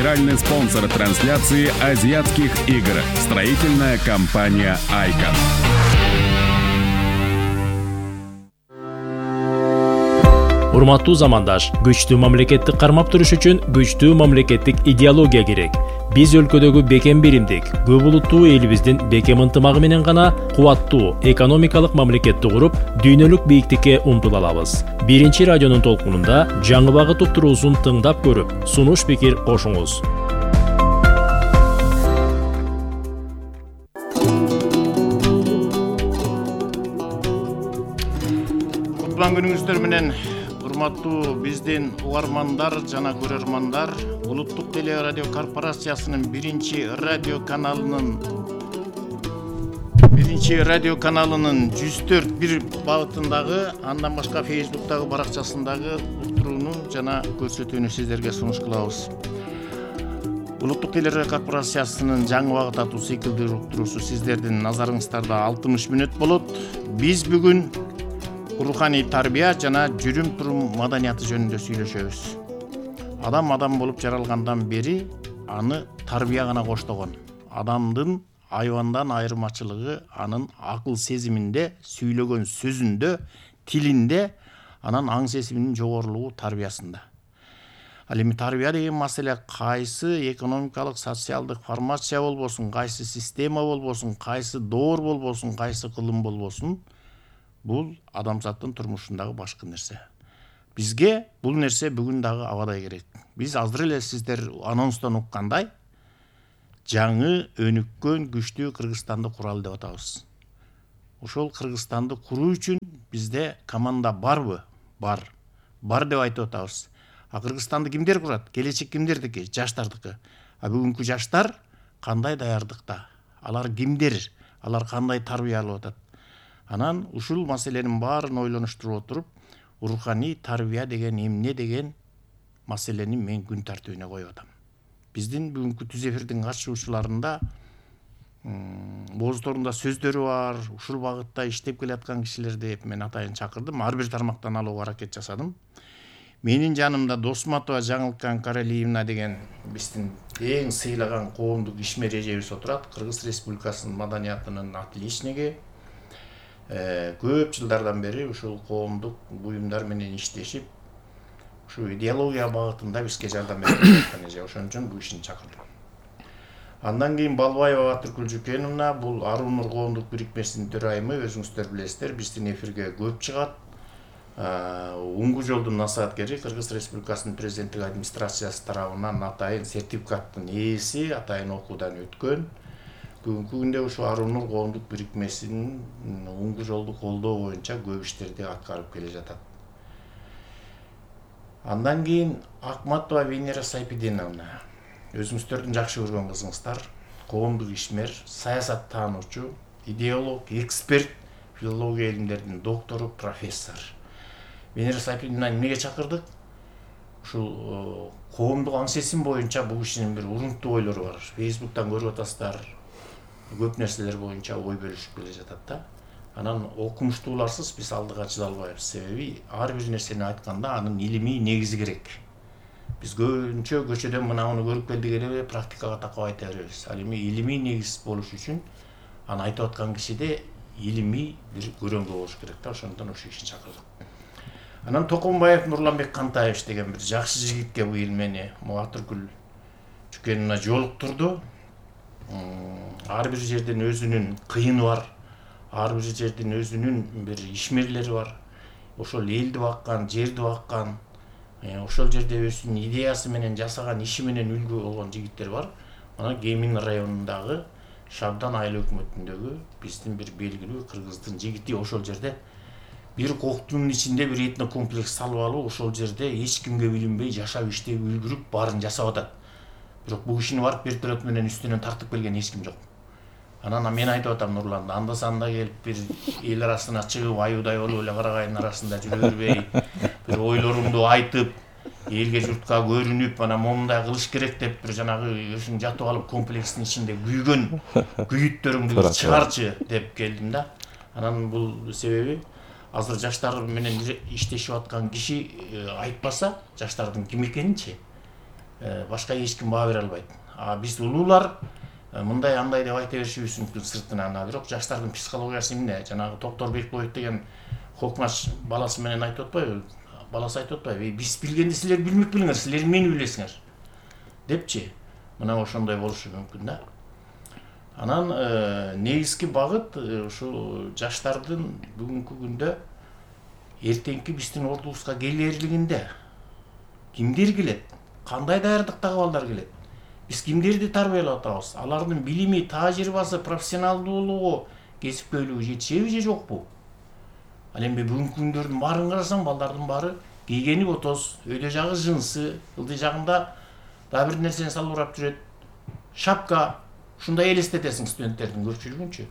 Генеральный спонсор трансляции азиатских игр. Строительная компания «Айкон». Урматтуу замандаш, күчтүү мамлекетти кармап туруш үчүн күчтүү мамлекеттик идеология керек. Биз өлкөдөгү бекем биримдик, көп улуттуу элибиздин бекем ынтымагы менен гана кубаттуу экономикалык мамлекетти куруп, дүйнөлүк бийиктикке умтула алабыз. Биринчи радионун толкунунда жаңы багыт уктуруусун тыңдап көрүп, сунуш пикир кошуңуз. Кутлан күнүңүздөр менен урматтуу биздин угармандар жана көрөрмандар, Улуттук теле радио корпорациясынын биринчи радио каналынын 104.1 багытындагы, андан башка Facebook'тагы баракчасындагы уктурууну жана көрсөтүүнү сиздерге сунуш кылабыз. Улуттук теле радио корпорациясынын жаңы багыт аттуу циклдүү уктуруусу сиздердин назарыңыздарда 60 мүнөт болот. Биз бүгүн руханий тарбия жана жүрүм-турум маданияты жөнүндө сүйлөшөбүз. Адам болуп жаралгандан бери аны тарбия гана коштогон. Адамдын айвандан айырмачылыгы анын акыл сезиминде, сүйлөгөн сөзүндө, тилинде, анан аң сезиминин жогорулугу тарбиясында. Ал эми тарбия деген маселе кайсы экономикалык, социалдык формация болбосун, кайсы система болбосун, кайсы доор болбосун, кайсы кылым болбосун, бул адамзаттын турмушундагы башкы нерсе. Бизге бул нерсе бүгүн дагы абадай керек. Биз азыр эле сиздер анонстон уккандай жаңы өнүккөн күчтүү Кыргызстанды куралы деп атабыз. Ошол Кыргызстанды куруу үчүн бизде команда барбы? Бар деп айтып атабыз. А Кыргызстанды кимдер курат? Келечек кимдердики? Жаштардыкы. А бүгүнкү жаштар кандай даярдыкта? Алар кимдер? Алар кандай тарбия алып атат? Анан ушул маселенин баарын ойлонуштуруп отуруп, руханий тарбия деген эмне деген маселени мен күн тартибине коюп атам. Биздин бүгүнкү түз эфирдин катышуучуларында боздорунда сөздөрү бар, ушул багытта иштеп келаткан кишилерди мен атайын чакырдым. Ар бир тармактан алууга аракет жасадым. Менин жанымда Досматова Жаңылкан Каралиевна деген биздин эң сыйлаган коомдук ишмер эжебиз отурат. Кыргыз Республикасынын маданиятынын отличниги. Көп жылдардан бери ушул коомдук буюмдар менен иштешип, ушу идеология багытында бизге жардам берип жаткан эже. Ошон үчүн бул ишин чакырдым. Андан кийин Балбаева Батыркүл Жүкеновна, бул Арунур коомдук бирикмесинин төрайымы, өзүңүздөр билесиздер, биздин эфирге көп чыгат. Уңгу жолдун насааткери, Кыргыз Республикасынын президенттик администрациясы тарабынан атайын сертификаттын ээси, атайын окуудан өткөн. Бүгүнкү күндө ушу Арунур коомдук бирикмесинин уңгу жолду колдоо боюнча көп иштерди аткарып келе жатат. Андан кийин Акматова Венера Сайпидиновна, өзүңүздөрдүн жакшы көргөн кызыңыздар, коомдук ишмер, саясат таануучу, идеолог, эксперт, филология илимдеринин доктору, профессор. Венера Сайпидиновнаны эмнеге чакырдык? Ушул коомдук аң сезим боюнча бул кишинин бир урунттуу ойлору бар. Facebook'тан көрүп атасыздар. Көп нерселер боюнча ой бөлүшүп келе жатат да. Анан окумуштууларсыз биз алдыга чыга албайбыз. Себеби ар бир нерсени айтканда анын илимий негизи керек. Биз көбүнчө көчөдөн мынауну көрүп келдик эле практикага такап айта беребиз. Ал эми илимий негиз болуш үчүн аны айтып аткан кишиде илимий бир көрөңгү болуш керек да. Ошондон ошол ишин чакырдык. Анан Токомбаев Нурланбек Кантаевич деген бир жакшы жигитке быйыл мени Батыркүл Жүкеновна жолуктурду. Ар бир жердин өзүнүн кыйыны бар, ар бир жердин өзүнүн бир ишмерлери бар. Ошол элди баккан, жерди баккан, ошол жерде өзүнүн идеясы менен жасаган иши менен үлгү болгон жигиттер бар. Мына Кемин районундагы Шабдан айыл өкмөтүндөгү биздин бир белгилүү кыргыздын жигити ошол жерде бир коктунун ичинде бир этнокомплекс салып алып, ошол жерде эч кимге билинбей жашап иштеп үлгүрүп баарын жасап атат. Бирок бул кишини барып вертолет менен үстүнөн тартып келген эч ким жок. Анан мен айтып атам Нурланда, анда-санда келип бир эл арасына чыгып, аюудай болуп эле карагайдын арасында жүрө бербей, бир ойлоруңду айтып, элге журтка көрүнүп, анан момундай кылыш керек деп бир жанагы өзүң жатып алып комплекстин ичинде күйгөн күйүттөрүңдү чыгарчы деп келдим да. Анан бул себеби азыр жаштар менен иштешип аткан киши айтпаса, жаштардын ким экенинчи башка эч ким баа бере албайт. Биз улуулар мындай андай деп айта беришибиз мүмкүн сыртынан, бирок жаштардын психологиясы эмне? Жанагы Токтор Бекбоев деген Хокмаш баласы менен айтып атпайбы? Баласы айтып атпайбы? Биз билгенди силер билмек билиңер, силер мени билесиңер депчи. Мына ошондой болушу мүмкүн да. Анан негизги багыт ушу жаштардын бүгүнкү күндө эртеңки биздин ордубузга келерлигинде кимдер келет, кандай даярдыктагы балдар келет, биз кимдерди тарбиялап атабыз, алардын билими, тажрыйбасы, профессионалдуулугу, кесипкөйлүгү жетишеби же жокпу? Ал эми бүгүнкү күндөрдүн баарын карасаң, балдардын баары кийгени отоз, өйдө жагы жынсы, ылдый жагында дагы бир нерсени салып урап жүрөт, шапка. Ушундай элестетесиң студенттердин көпчүлүгүнчү.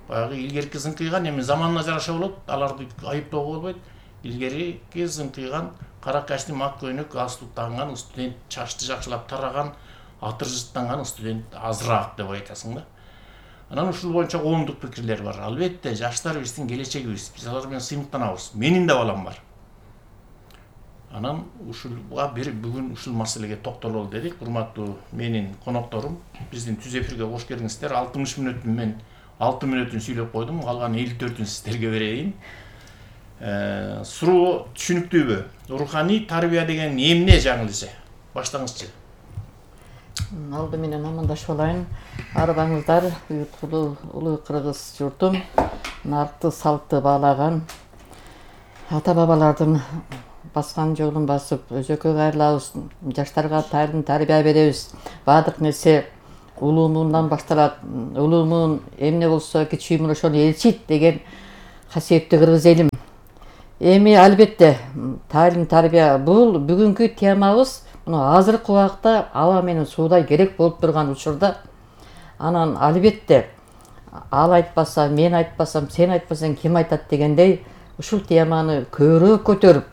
Баягы илгерки зыңкыйган, эми заманына жараша болот, аларды айыптоого болбойт. Илгерки зыңкыйган, кара костюм, ак көйнөк, галстук тагынган студент, чачты жакшылап тараган, атыр жыттанган студент азыраак деп айтасың да. Анан ушул боюнча коомдук пикирлер бар. Албетте, жаштар биздин келечегибиз. Биз алар менен сыймыктанабыз. Менин да балам бар. Анан ушулга бүгүн ушул маселеге токтололу дедик. Урматтуу менин конокторум, биздин түз эфирге кош келиңиздер. 60 мүнөттүн мен 6 мүнөтүн сүйлөп койдум, калган 54-үн сиздерге берейин. Суроо түшүнүктүүбү? Руханий тарбия деген эмне жаңылышы? Баштаңызчы. Алды менен амандашып алайын. Арбаңыздар, уюткулуу улуу кыргыз журтум, наркты салтты баалаган ата бабалардын баскан жолун басып, өзөккө кайрылабыз, жаштарга тайылым тарбия беребиз. Баардык нерсе улуумундан башталат. Улуумун эмне болсо кичүүмүн ошону элчийт деген касиеттүү кыргыз элим. Эми албетте тайылым тарбия бул бүгүнкү темабыз. Мына азыркы убакта аба менен суудай керек болуп турган учурда, анан албетте ал айтпаса, мен айтпасам, сен айтпасаң ким айтат дегендей ушул теманы көбүрөөк көтөрүп,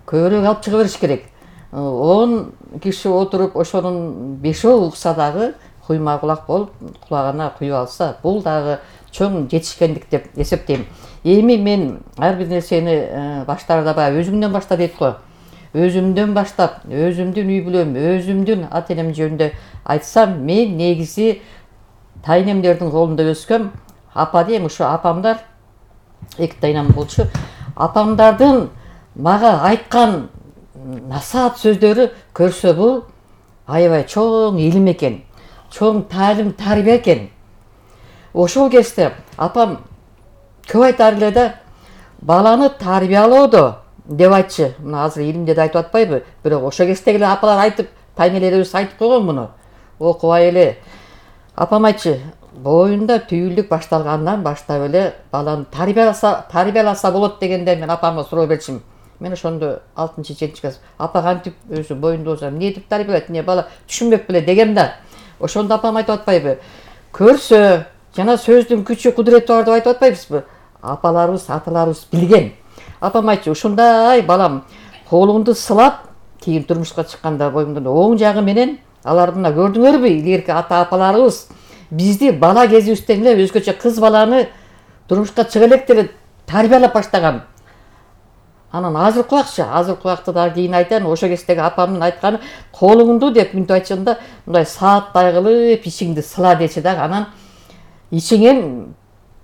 көбүрөөк алып чыга бериш керек. 10 киши отуруп ошонун 5-өө укса дагы куйма кулак болуп, кулагына куюп алса, бул дагы чоң жетишкендик деп эсептейм. Эми мен ар бир нерсени баштарда баягы өзүмдөн башта дейт го. Өзүмдөн баштап, өзүмдүн үй бүлөм, өзүмдүн ата энем жөнүндө айтсам, мен негизи тайнемдердин колунда өскөм. Апа дейм, ушу апамдар, 2 тайнам болчу. Апамдардын мага айткан насаат сөздөрү көрсө бул аябай чоң илим экен, чоң тайылым тарбия экен. Ошол кезде апам көп айтар эле да, баланы тарбиялоодо деп айтчы. Мына азыр илимде да айтып атпайбы, бирок ошо кездеги эле апалар айтып, тайнелерибиз айтып койгон муну. Окубай эле. Апам айтчы, боюнда түйүлдүк башталгандан баштап эле баланы тарбияласа болот дегенде мен апамга суроо берчим. Мен ошондо 6-7 класс. Апа кантип өзү боюнда болсо эмне деп тарбиялайт, эмне бала түшүнбөк беле дегем да. Ошондо апам айтып атпайбы, көрсө жана сөздүн күчү кудурети бар деп айтып атпайбызбы? Апаларыбыз, аталарыбыз билген. Апам айтчы, ушундай балам, колуңду сылап, кийин турмушка чыкканда боюңдун оң жагы менен, алар мына көрдүңөрбү, илгерки ата-апаларыбыз бизди бала кезибизден эле өзгөчө кыз баланы турмушка чыга электе эле тарбиялап баштаган. Анан азыркы убакта дагы кийин айтайын, ошо кездеги апамдын айтканы, колуңду деп мынтип айтчанда, мындай сааттай кылып ичиңди сыла дечи дагы, анан ичиңен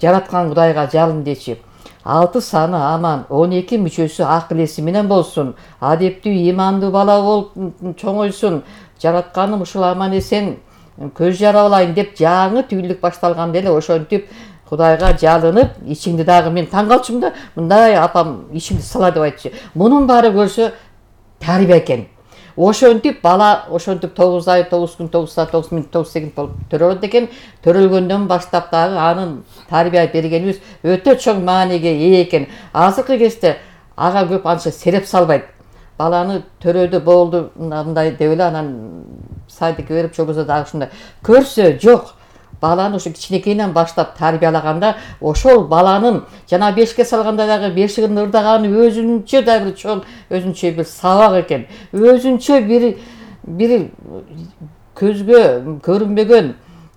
жараткан Кудайга жалын дечи. 6 саны аман, 12 мүчөсү акыл эси менен болсун, адептүү, имандуу бала болуп чоңойсун, жаратканым ушул аман эсен көз жаралайын деп жаңы түйүлдүк башталганда эле ошентип Кудайга жалынып, ичиңди дагы мен таң калчумун да, мындай апам ичиңди сыла деп айтчы. Мунун баары көрсө тарбия экен. Ошентип бала, ошентип 9 ай, 9 күн, 9 саат, 9 мүнөт, 9 секунд болуп төрөлөт экен. Төрөлгөндөн баштап дагы анын тарбия бергенибиз өтө чоң мааниге ээ экен. Азыркы кезде ага көп анча сереп салбайт. Баланы төрөдү болду мындай деп эле анан садикке берип чогуза дагы ушундай. Көрсө жок. Баланы ошо кичинекейинен баштап тарбиялаганда, ошол баланын жана 5ке салганда дагы бешигин ырдаганы өзүнчө да бир чоң, өзүнчө бир сабак экен. Өзүнчө бир көзгө көрүнбөгөн,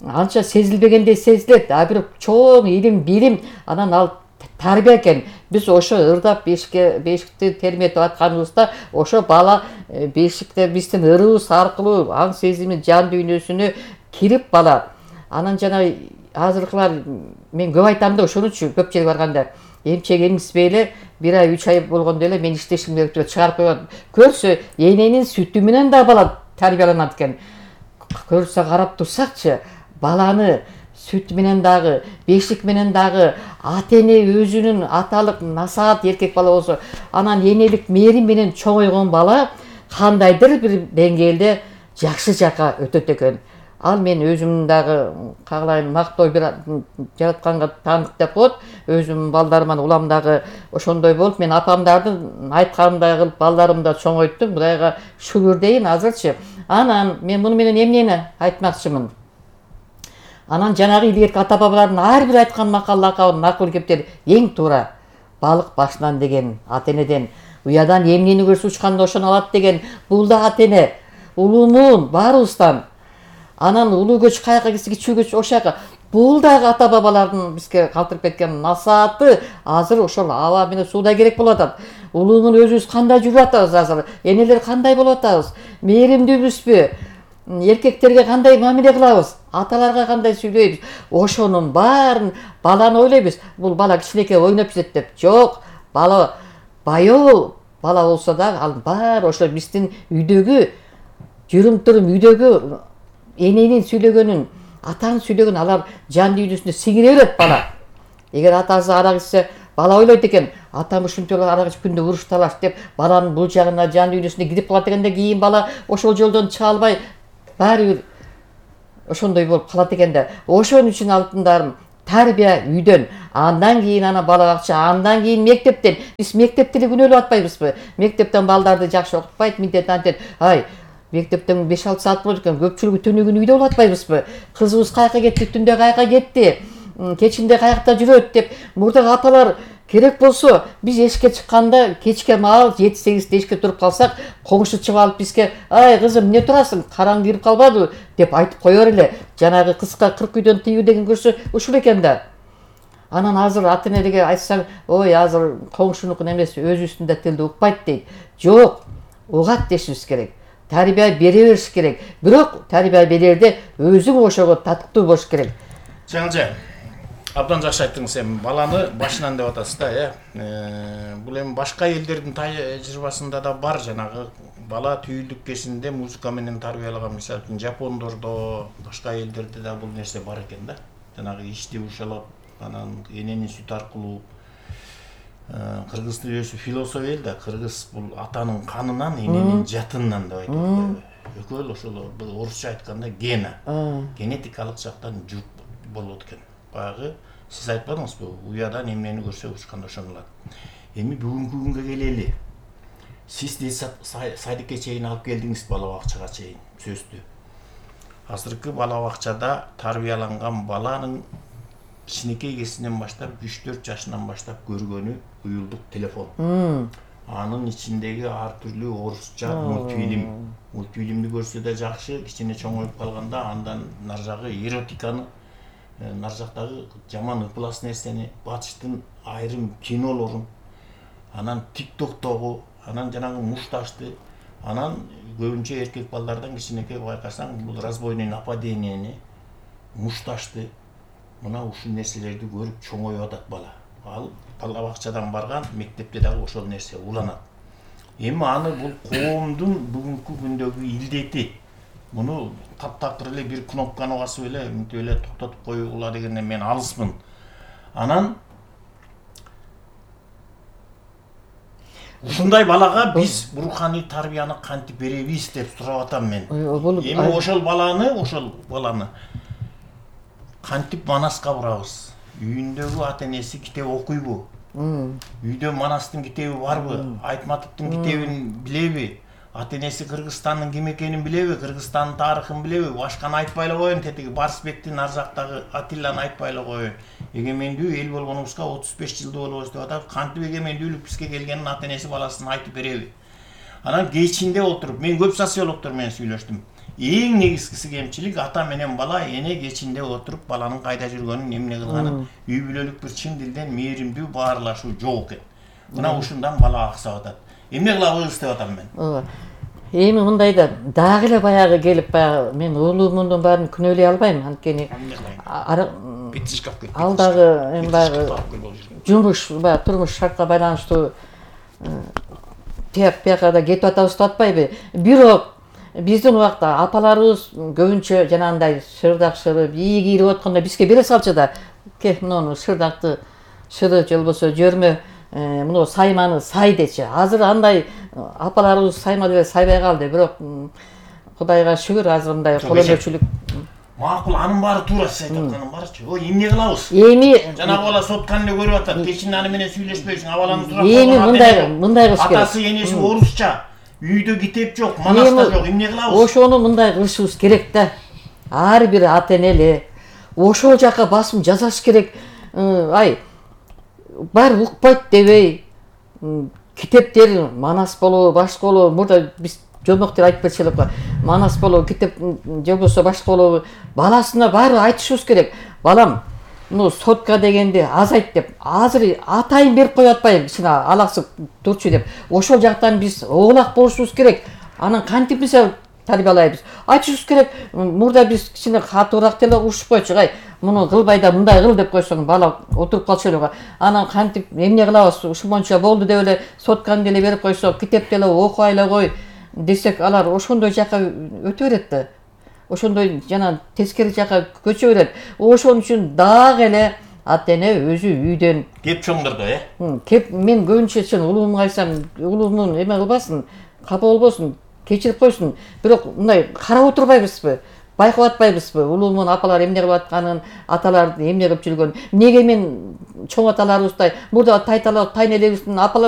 анча сезилбегендей сезилет, бир чоң илим, билим, анан ал тарбия экен. Биз ошо ырдап бешикти терметип атканыбызда ошо бала бешикте биздин ырыбыз аркылуу аң сезими жан дүйнөсүнө кирип бала. Анан жана азыркылар мен көп айтам да ошон үчүн көп жерге барганда эмчек эмизбей эле 1 ай 3 ай болгондо эле мен иштешим керек деп чыгарып койгон. Көрсө эненин сүтү менен да бала тарбияланат экен. Көрсө карап турсакчы баланы сүт менен дагы, бешик менен дагы ата-эне өзүнүн аталык насаат эркек бала болсо, анан энелик мээрим менен чоңойгон бала кандайдыр бир деңгээлде жакшы жакка өтөт экен. Ал мен өзүм дагы кагалайм мактоо бир жаратканга таандык деп коет. Өзүм балдарыман улам дагы ошондой болуп, мен апамдардын айтканындай кылып балдарымды да чоңойттум. Кудайга шүгүр дейин азырчы. Анан мен муну менен эмнени айтмакчымын? Анан жанагы илгерки ата бабалардын ар бир айткан макал лакабын макул кептер эң туура. Балык башынан деген ата-энеден, уядан эмнени көрсө учканда ошону алат деген бул да ата-эне. Улуумун баарыбыздан. Анан улуу көч каяка кетсе кичүү көч ошояка. Бул дагы ата бабалардын бизге калтырып кеткен насааты. Азыр ошол аба менен сууда керек болуп атат. Улуумун өзүбүз кандай жүрүп атабыз азыр? Энелер кандай болуп атабыз? Мээримдүүбүзбү? Эркектерге кандай мамиле кылабыз? Аталарга кандай сүйлөйбүз? Ошонун баарын баланы ойлойбуз. Бул бала кичинекей ойноп жүрөт деп. Жок, бала баяу бала болсо да ал баары ошо биздин үйдөгү жүрүм-турум, үйдөгү эненин сүйлөгөнүн, атанын сүйлөгөнүн алар жан дүйнөсүнө сиңире берет бала. Эгер атасы арак ичсе, бала ойлойт экен, атам ушинтип арак ичип күндө уруш талаш деп баланын бул жагына жан дүйнөсүнө кирип калат экен да, кийин бала ошол жолдон чыга албай баары бир ошондой болуп калат экен да. Ошон үчүн алтындарым тарбия үйдөн, андан кийин ана бала бакча, андан кийин мектептен. Биз мектепти эле күнөөлөп атпайбызбы? Мектептен балдарды жакшы окутпайт, миндет антет. Ай, мектептен 5-6 саат болот экен, көпчүлүгү түнүгүн үйдө болуп атпайбызбы? Кызыбыз каяка кетти, түндө каяка кетти, кечинде каякта жүрөт деп мурдагы апалар керек болсо биз эшикке чыкканда кечке маал 7-8 эшикке туруп калсак, коңшу чыгып алып бизге "Ай кызым, эмне турасың? Караң кирип калбадыбы?" деп айтып коёр эле. Жанагы кыска 40 үйдөн тыюу деген көрсө ушул экен да. Анан азыр ата-энеге айтсаң, "Ой, азыр коңшунукун эмес, өзүбүздүн да тилди укпайт" дейт. Жок, угат дешибиз керек. Тарбия бере бериш керек. Бирок тарбия берерде өзүң ошого татыктуу болуш керек. Жаңылжан, абдан жакшы айттыңыз. Эми баланы башынан деп атасыз да, бул эми башка элдердин тажрыйбасында да бар. Жанагы бала түйүлдүк кезинде музыка менен тарбиялаган, мисалы үчүн Жапондордо, башка элдерде да бул нерсе бар экен да. Жанагы ичти ушалап, анан эненин сүтү аркылуу. Кыргыз тилөөсү философия эл да, кыргыз бул атанын канынан, эненин жатынынан деп айтат. Экөө ошол орусча айтканда гена, генетикалык жактан жүк болот экен. Баягы сиз айтпадыңызбы, уядан эмнени көрсө учканда ошону алат. Эми бүгүнкү күнгө келели. Сиз садикке чейин алып келдиңиз, бала бакчага чейин сөздү. Азыркы бала бакчада тарбияланган баланын кичинекей кезинен баштап 3-4 жашынан баштап көргөнү уюлдук телефон. Анын ичиндеги ар түрлүү орусча мультфильм. Мультфильмди көрсө да жакшы, кичине чоңоюп калганда андан нар жагы эротиканы, нар жактагы жаман ыплас нерсени, батыштын айрым кинолорун, анан тиктоктогу, анан жанагы мушташты, анан көбүнчө эркек балдардан кичинекей байкасаң, бул разбойный нападениени, мушташты, мына ушул нерселерди көрүп чоңоюп атат бала. Ал бала бакчадан барган, мектепте дагы ошол нерсе уланат. Эми аны бул коомдун бүгүнкү күндөгү илдети. Муну таптакыр эле бир кнопканы басып эле, мынтип эле токтотуп коюула дегенден мен алыспын. Анан ушундай балага биз руханий тарбияны кантип беребиз деп сурап атам мен. Эми ошол баланы кантип манаска бурабыз? Үйүндөгү ата-энеси китеп окуйбу? Үйдө Манастын китеби барбы? Айтматовдун китебин билеби? Ата-энеси Кыргызстандын ким экенин билеби? Кыргызстандын тарыхын билеби? Башканы айтпай эле коеюн, тетиги Барсбектин ар жактагы Атилланы айтпай эле коеюн. Эгемендүү эл болгонубузга 35 жылды болобуз деп атат. Кантип эгемендүүлүк бизге келгенин ата-энеси баласына айтып береби? Анан кечинде отуруп, мен көп социологдор менен сүйлөштүм. эң негизгиси кемчилик ата менен бала эне кечинде отуруп баланын кайда жүргөнүн эмне кылганын үй бүлөлүк бир чын дилден мээримдүү баарлашуу жок экен. Мына ушундан бала аксап атат. Эмне кылабыз деп атам мен. ооба. Эми мындайда дагы эле баягы келип баягы мен уулумдун баарын күнөөлөй албайм, анткени Бит шкаф кетти. ал дагы эми баягы жумуш, баягы турмуш шартка байланыштуу тияк-бияка да кетип атабыз деп атпайбы. Бирок биздин убакта апаларыбыз көбүнчө жанагындай шырдак-шырып, ийи кийирип атканда бизге бере салчу да. Ке, муну шырдакты шыры же болбосо жөрмө, муну сайманы сай дечи. Азыр андай апаларыбыз сайма деле сайбай калды. Бирок Кудайга шүгүр азыр мындай кол өнөрчүлүк. Макул, анын баары туура сиз айтып атканын баарычы. Ой, эмне кылабыз? Эми Жанагы бала сотканы эле көрүп атат. Кечин аны менен сүйлөшпөйсүң, абалаңыз турат. эми мындай кылыш керек. Атасы энеси орусча. Үйдө китеп жок, манаста жок. Эмне кылабыз? Ошону мындай кылышыбыз керек да. Ар бир ата энеле ошол жака басым жасаш керек. Ай, баары укпайт дебей, китептер манас болобу, башка болобу, мурда биз жомоктор айтып берчү элек го. Манас болобу, китеп же болбосо башка болобу, баласына баары айтышыбыз керек. Балам, муну сотка дегенди азайт деп. Азыр атайын берип коюп атпайбы, кичине алаксып турчу деп. Ошол жактан биз оолак болушубуз керек. Анан кантип биз тарбиялайбыз? Айтышыбыз керек. Мурда биз кичине катуураак деле урушуп койчу. Ай, муну кылбай да мындай кыл деп койсоң, бала отуруп калчу эле го. Анан кантип эмне кылабыз? Ушунча болду деп эле сотканы деле берип койсок, китеп деле окуй эле кой десек, алар ошондой жака өтө берет да. Ошондой жана тескери жака көчө берет. Ошон үчүн дагы эле ата эне өзү үйдөн кеп чоңдордо, кеп мен көбүнчө чын улуумга айтсам, улуумун эме кылбасын, капа болбосун, кечирип койсун. Бирок мындай карап отурбайбызбы? Байкап атпайбызбы? Улуумун апалар эмне кылып атканын, аталар эмне кылып жүргөнүн. Неге мен чоң аталарыбыздай, мурда тайталар, тайнелерибиздин апалар